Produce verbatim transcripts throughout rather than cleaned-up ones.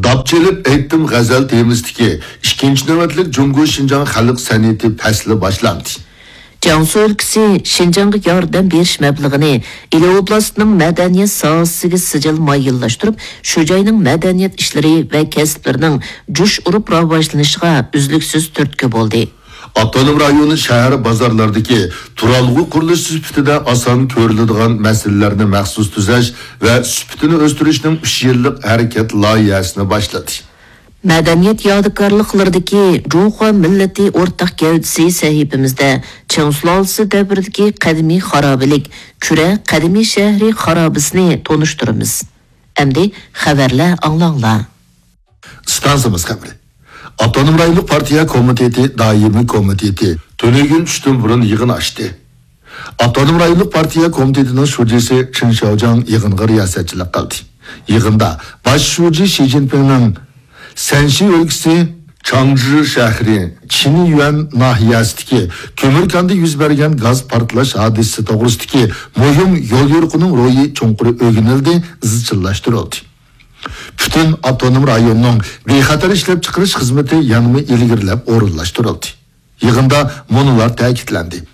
داپ چېلىپ ئېيتتىم غەزەل تېمىسىدىكى ئىككىنچى نۆۋەتلىك جۇڭگو شىنجاڭ خەلق سەنئىتى پەسلى باشلاندى. جياڭسۇ ئۆلكىسى شىنجاڭغا ياردەم بېرىش مەبلىغىنى ئىلى ئوبلاستىنىڭ مەدەنىيەت ساھەسىگە سىجىل مايىللاشتۇرۇپ، شۇ جاينىڭ مەدەنىيەت ئىشلىرى ۋە كەسىپلىرىنىڭ جۇش ئۇرۇپ راۋاجلىنىشىغا ئۈزلۈكسىز تۈرتكە بولدى. ئاپتونوم رايون شەھەر بازارلىرىدىكى تۇرالغۇ قۇرۇلۇشى سۈپىتىدە ئاسان كۆرۈلىدىغان مەسىلىلەرنى مەخسۇس تۈزەش ۋە سۈپىتىنى ئۆستۈرۈشنىڭ ئۈچ يىللىق ھەرىكەت لايىھەسىنى باشلىدى. مەدەنىيەت يادىكارلىقلىرىدىكى جۇڭخۇا مىللىتى ئورتاق گەۋدىسى سەھىپىمىزدە چىڭ سۇلالىسى دەۋرىدىكى قەدىمىي خارابىلىك، كۈرە قەدىمىي شەھىرى خارابىسىنى تونۇشتۇرىمىز. ئەمدى خەۋەرلەر ئاڭلاڭلار. ئىستانسىمىز خەۋىرى. ئاپتونوم رايونلۇق پارتىيە كومىتېتى دائىمىي كومىتېتى تۈنۈگۈن چۈشتىن بۇرۇن يىغىن ئاچتى. ئاپتونوم رايونلۇق پارتىيە كومىتېتىنىڭ شۇجىسى چېن شياۋجياڭ يىغىنغا رىياسەتچىلىك قىلدى. يىغىندا باش شۇجى شى جىنپىڭنىڭ سەنشى ئۆلكىسى چاڭجى شەھىرى چىنيۈەن ناھىيەسىدىكى كۆمۈر كاندا يۈز بەرگەن گاز پارتلاش ھادىسىسى توغرىسىدىكى مۇھىم يوليورۇقىنىڭ روھى چوڭقۇر ئۆگىنىلدى، ئىزچىللاشتۇرۇلدى. پۈتۈن ئاپتونوم رايوننىڭ بىخەتەر ئىشلەپچىقىرىش خىزمىتى يەنىمۇ ئىلگىرىلەپ ئورۇنلاشتۇرۇلدى. يىغىندا مۇنۇلار تەكىتلەندى.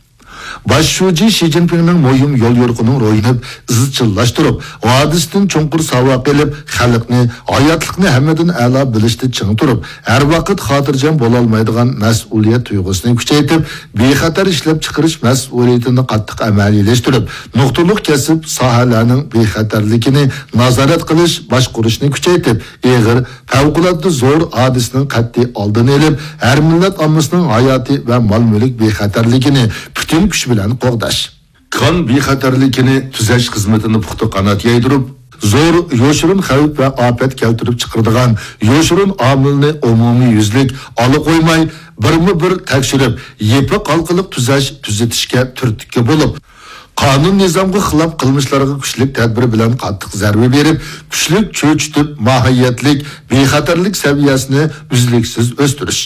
باش شۇجى شى جىنپىڭنىڭ مۇھىم يوليورۇقىنىڭ روھىنى ئىزچىللاشتۇرۇپ، ھادىسىدىن چوڭقۇر ساۋاق ئېلىپ، خەلقنى، ھاياتلىقنى ھەممىدىن ئەلا بىلىشتە چىڭ تۇرۇپ، ھەر ۋاقىت خاتىرجەم بولالمايدىغان مەسئۇلىيەت تۇيغۇسىنى كۈچەيتىپ، بىخەتەر ئىشلەپچىقىرىش مەسئۇلىيىتىنى قاتتىق ئەمەلىيلەشتۈرۈپ، نۇقتىلىق كەسىپ ساھەلەرنىڭ بىخەتەرلىكىنى نازارەت قىلىش، باشقۇرۇشنى كۈچەيتىپ، ئېغىر، پەۋقۇلئاددە زور ھادىسىنىڭ قەتئىي ئالدىنى ئېلىپ، ھەر مىللەت ئاممىسىنىڭ ھاياتى ۋە مال-مۈلۈك بىخەتەرلىكىنى پۈتۈن كۈچ بىلەن قوغداش. كان بىخەتەرلىكىنى تۈزەش خىزمىتىنى پۇختا قانات يايدۇرۇپ، زور يوشۇرۇن خەۋپ ۋە ئاپەت كەلتۈرۈپ چىقىرىدىغان يوشۇرۇن ئامىلنى ئومۇميۈزلۈك ئالا قويماي، بىرمۇ بىر تەكشۈرۈپ، يېپىق ھالقىلىق تۈزەش، تۈزىتىشكە تۈرتكە بولۇپ، قانۇن-نىزامغا خىلاپ قىلمىشلارغا كۈچلۈك تەدبىر بىلەن قاتتىق زەربە بېرىپ، كۈچلۈك چۆچۈتۈپ، ماھىيەتلىك بىخەتەرلىك سەۋىيەسىنى ئۈزلۈكسىز ئۆستۈرۈش.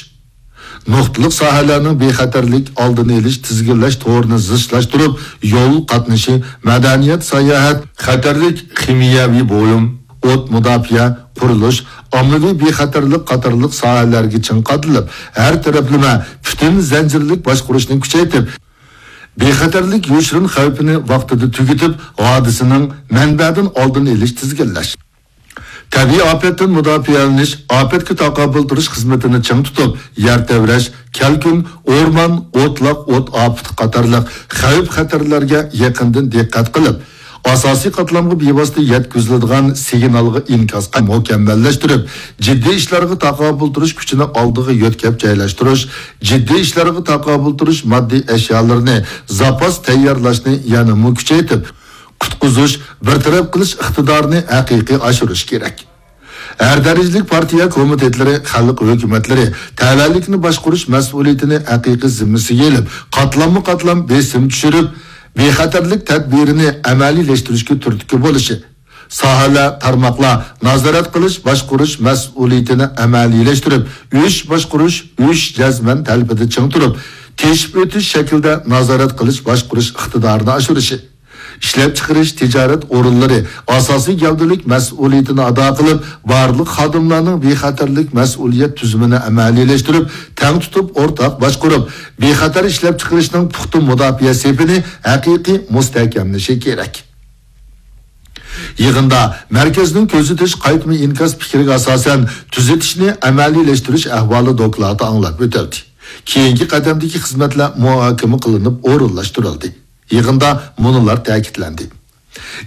نۇقتىلىق ساھەلەرنىڭ بىخەتەرلىك ئالدىنى ئېلىش، تىزگىنلەش تورىنى زىچلاشتۇرۇپ، يول قاتنىشى، مەدەنىيەت، ساياھەت، خەتەرلىك خىمىيەۋى بۇيۇم، ئوت مۇداپىئە، قۇرۇلۇش، ئاممىۋى بىخەتەرلىك قاتارلىق ساھەلەرگە چىڭ قادىلىپ، ھەر تەرەپلىمە پۈتۈن زەنجىرلىك باشقۇرۇشنى كۈچەيتىپ، بىخەتەرلىك يوشۇرۇن خەۋپىنى ۋاقتىدا تۈگىتىپ، ھادىسىنىڭ مەنبەدىن ئالدىنى ئېلىش، تىزگىنلەش. تەبىئىي ئاپەتتىن مۇداپىئەلىنىش، ئاپەتكە تاقابىل تۇرۇش خىزمىتىنى چىڭ تۇتۇپ، يەر تەۋرەش، كەلكۈن، ئورمان، ئوتلاق ئوت ئاپىتى قاتارلىق خەۋپ-خەتەرلەرگە يېقىندىن دىققەت قىلىپ، ئاساسىي قاتلامغا بىۋاسىتە يەتكۈزۈلىدىغان سىگنالغا ئىنكاسقا مۇكەممەللەشتۈرۈپ، جىددىي ئىشلارغا تاقابىل تۇرۇش كۈچىنى ئالدىغا يۆتكەپ جايلاشتۇرۇش، جىددىي ئىشلارغا تاقابىل تۇرۇش ماددىي ئەشيالىرىنى زاپاس تەييارلاشنى يەنىمۇ كۈچەيتىپ، قۇتقۇزۇش، بىر تەرەپ قىلىش ئىقتىدارىنى ھەقىقىي ئاشۇرۇش كېرەك. ھەر دەرىجىلىك پارتىيە كومىتېتلىرى، خەلق ھۆكۈمەتلىرى تەۋەلىكنى باشقۇرۇش مەسئۇلىيىتىنى ھەقىقىي زىممىسىگە ئېلىپ، قاتلاممۇ قاتلام بېسىم چۈشۈرۈپ، بىخەتەرلىك تەدبىرىنى ئەمەلىيلەشتۈرۈشكە تۈرتكە بولۇشى، ساھەلەر، تارماقلار نازارەت قىلىش، باشقۇرۇش مەسئۇلىيىتىنى ئەمەلىيلەشتۈرۈپ، ئۈچ باشقۇرۇش، ئۈچ جەزمەن تەلىپىدە چىڭ تۇرۇپ، تېشىپ ئۆتۈش شەكلىدە نازارەت قىلىش، باشقۇرۇش ئىقتىدارىنى ئاشۇرۇشى. ئىشلەپچىقىرىش، تىجارەت ئورۇنلىرى ئاساسىي گەۋدىلىك مەسئۇلىيىتىنى ئادا قىلىپ، بارلىق خادىملارنىڭ بىخەتەرلىك مەسئۇلىيەت تۈزۈمىنى ئەمەلىيلەشتۈرۈپ، تەڭ تۇتۇپ ئورتاق باشقۇرۇپ، بىخەتەر ئىشلەپچىقىرىشنىڭ پۇختا مۇداپىئە سېپىنى ھەقىقىي مۇستەھكەملىشى كېرەك. يىغىندا مەركەزنىڭ كۆزىتىش قايتما ئىنكاس پىكرىگە ئاساسەن تۈزىتىشنى ئەمەلىيلەشتۈرۈش ئەھۋالى دوكلاتى ئاڭلاپ ئۆتۈلدى. كېيىنكى قەدەمدىكى خىزمەتلەر مۇھاكىمە قىلىنىپ ئورۇنلاشتۇرۇلدى. يىغىندا مۇنۇلار تەكىتلەندى.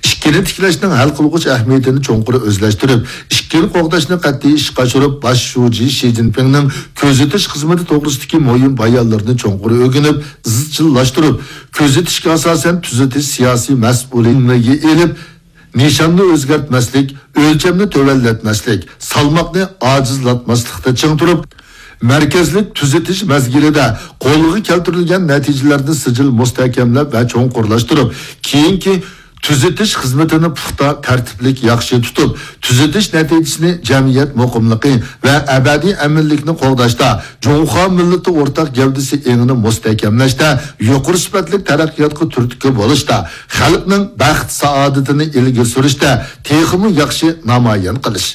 ئىككىنى تىكلەشنىڭ ھەل قىلغۇچ ئەھمىيىتىنى چوڭقۇر ئۆزلەشتۈرۈپ، ئىككىنى قوغداشنى قەتئىي ئىشقا ئاشۇرۇپ، باش شۇجى شى جىنپىڭنىڭ كۆزىتىش خىزمىتى توغرىسىدىكى مۇھىم بايانلىرىنى چوڭقۇر ئۆگىنىپ، ئىزچىللاشتۇرۇپ، كۆزىتىشكە ئاساسەن تۈزىتىش سىياسىي مەسئۇلىيىتىگە ئېلىپ، نىشاننى ئۆزگەرتمەسلىك، ئۆلچەمنى تۆۋەنلەتمەسلىك، سالماقنى ئاجىزلاتماسلىقتا چىڭ تۇرۇپ، مەركەزلىك تۈزىتىش مەزگىلىدە قولغا كەلتۈرۈلگەن نەتىجىلەرنى سىجىل مۇستەھكەملەپ ۋە چوڭقۇرلاشتۇرۇپ، كېيىنكى تۈزىتىش خىزمىتىنى پۇختا، تەرتىپلىك، ياخشى تۇتۇپ، تۈزىتىش نەتىجىسىنى جەمئىيەت مۇقىملىقى ۋە ئەبەدىي ئەمىنلىكنى قوغداشتا جۇڭخۇا مىللىتى ئورتاق گەۋدىسى ئېڭىنى مۇستەھكەملەشتە، يۇقىرى سۈپەتلىك تەرەققىياتقا تۈرتكە بولۇشتا، خەلقنىڭ بەخت-سائادىتىنى ئىلگىرى سۈرۈشتە تېخىمۇ ياخشى نامايان قىلىش.